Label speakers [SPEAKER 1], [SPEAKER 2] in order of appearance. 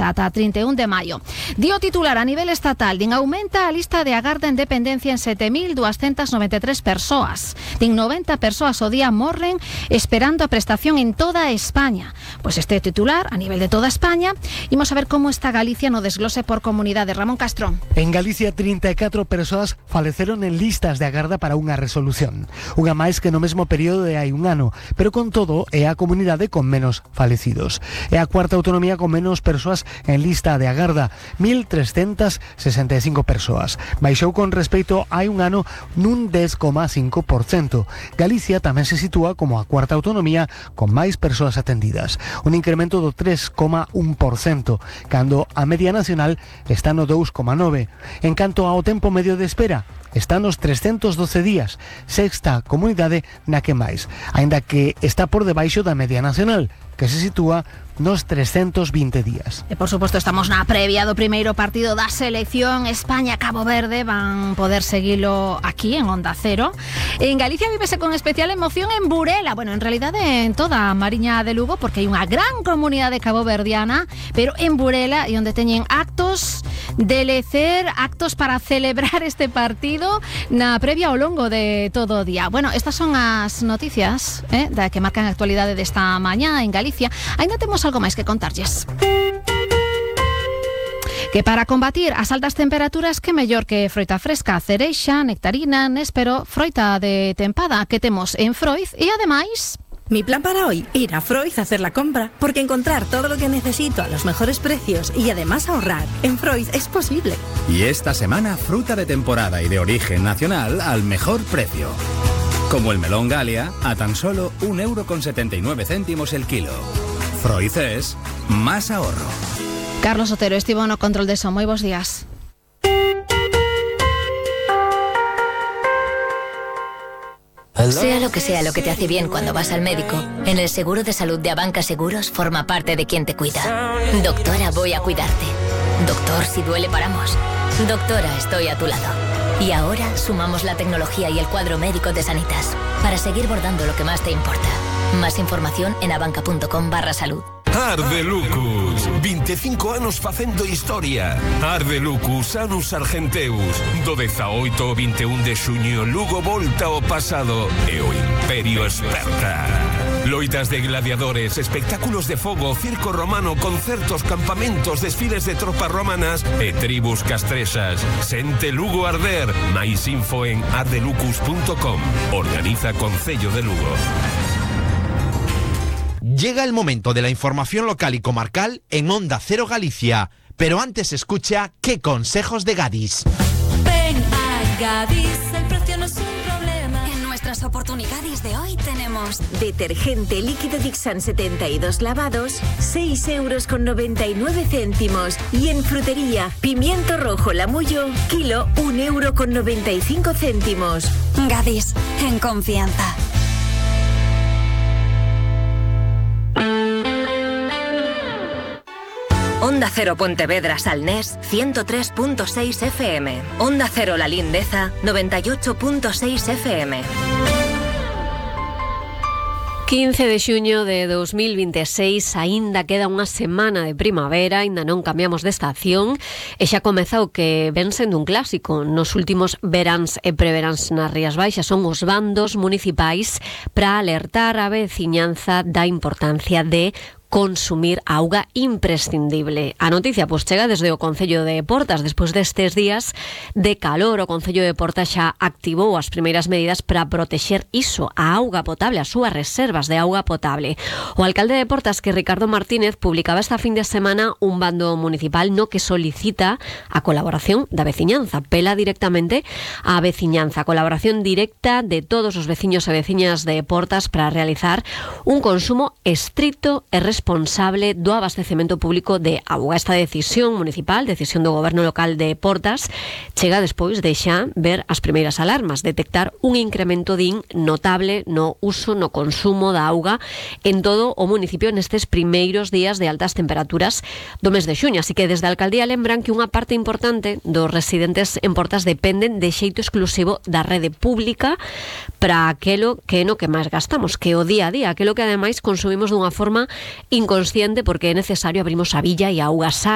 [SPEAKER 1] ata 31 de maio. Dio titular a nivel estatal, din aumenta a lista de agarda en dependencia en 7.293 persoas. Din 90 persoas o día morren esperando a prestación en toda España. Pois este titular a nivel de toda España. Imos a ver como está Galicia no desglose por comunidade. Ramón Castro.
[SPEAKER 2] En Galicia 34 persoas faleceron en listas de agarda para unha resolución. Unha máis que no mesmo período de hai un ano, pero con todo é a comunidade con menos falecidos. É a cuarta autonomía con menos persoas en lista de agarda, 1.365 persoas. Baixou con respecto hai un ano nun 10,5%. Galicia tamén se sitúa como a cuarta autonomía con máis persoas atendidas, un incremento do 3,1%, cando a media nacional está no 2,9%. En canto ao tempo medio de espera, está nos 312 días, sexta comunidade na que máis, aínda que está por debaixo da media nacional, que se sitúa nos 320 días.
[SPEAKER 1] E por suposto estamos na previa do primeiro partido da selección España-Cabo Verde. Van poder seguilo aquí en Onda Cero. En Galicia vívese con especial emoción en Burela, bueno, en realidade en toda a Mariña de Lugo, porque hai unha gran comunidade caboverdiana, pero en Burela e onde teñen actos de lecer, actos para celebrar este partido na previa ao longo de todo o día. Bueno, estas son as noticias da que marcan a actualidade desta mañá en Galicia. Ainda temos algo máis que contarlles. Que para combatir as altas temperaturas, que mellor que froita fresca, cereixa, nectarina, néspero, froita de tempada que temos en Froiz e ademais...
[SPEAKER 3] Mi plan para hoy, ir a Froiz a hacer la compra, porque encontrar todo lo que necesito a los mejores precios y además ahorrar en Froiz es posible.
[SPEAKER 4] Y esta semana, fruta de temporada y de origen nacional al mejor precio. Como el melón Galia, a tan solo 1,79 € el kilo. Froiz es más ahorro.
[SPEAKER 1] Carlos Otero estivo no control de eso. Moi bons días.
[SPEAKER 5] Sea lo que te hace bien cuando vas al médico, en el seguro de salud de Abanca Seguros forma parte de quien te cuida. Doctora, voy a cuidarte. Doctor, si duele paramos. Doctora, estoy a tu lado. Y ahora sumamos la tecnología y el cuadro médico de Sanitas para seguir bordando lo que más te importa. Más información en abanca.com/salud.
[SPEAKER 6] Ardelucus, 25 anos facendo historia. Ardelucus, Anus Argenteus. Do 18 ao 21 de xuño, Lugo volta ao pasado e o Imperio esperta. Loitas de gladiadores, espectáculos de fogo, circo romano, concertos, campamentos, desfiles de tropas romanas e tribus castrexas. Sente Lugo arder. Mais info en ardelucus.com. Organiza Concello de Lugo.
[SPEAKER 7] Llega el momento de la información local y comarcal en Onda Cero Galicia. Pero antes escucha ¿Qué consejos de Gadis?
[SPEAKER 8] Ven a Gadis, el precio no es un problema. En nuestras oportunidades de hoy tenemos
[SPEAKER 9] detergente líquido Dixan 72 lavados, 6,99 €. Y en frutería, pimiento rojo Lamullo, kilo, 1,95 €.
[SPEAKER 8] Gadis, en confianza.
[SPEAKER 10] Onda Cero Pontevedra Salnés 103.6 FM. Onda Cero La Lindeza 98.6 FM.
[SPEAKER 11] 15 de xuño de 2026, aínda queda unha semana de primavera, aínda non cambiamos de estación e xa comeza o que ven sendo un clásico nos últimos veráns e preveráns nas Rías Baixas. Son os bandos municipais para alertar a veciñanza da importancia de consumir auga imprescindible. A noticia pois chega desde o Concello de Portas. Despois destes días de calor, o Concello de Portas xa activou as primeiras medidas para protexer iso, a auga potable, as súas reservas de auga potable. O alcalde de Portas, que Ricardo Martínez, publicaba esta fin de semana un bando municipal no que solicita a colaboración da veciñanza, pela directamente a veciñanza, a colaboración directa de todos os veciños e veciñas de Portas para realizar un consumo estricto e responsable do abastecemento público de auga. Esta decisión municipal, decisión do goberno local de Portas, chega despois de xa ver as primeiras alarmas, detectar un incremento notable no uso, no consumo da auga en todo o municipio nestes primeiros días de altas temperaturas do mes de xuño. Así que desde a alcaldía lembran que unha parte importante dos residentes en Portas dependen de xeito exclusivo da rede pública para aquelo que é no que máis gastamos, que o día a día, aquelo que ademais consumimos dunha forma inconsciente porque é necesario abrimos a billa e a auga sai.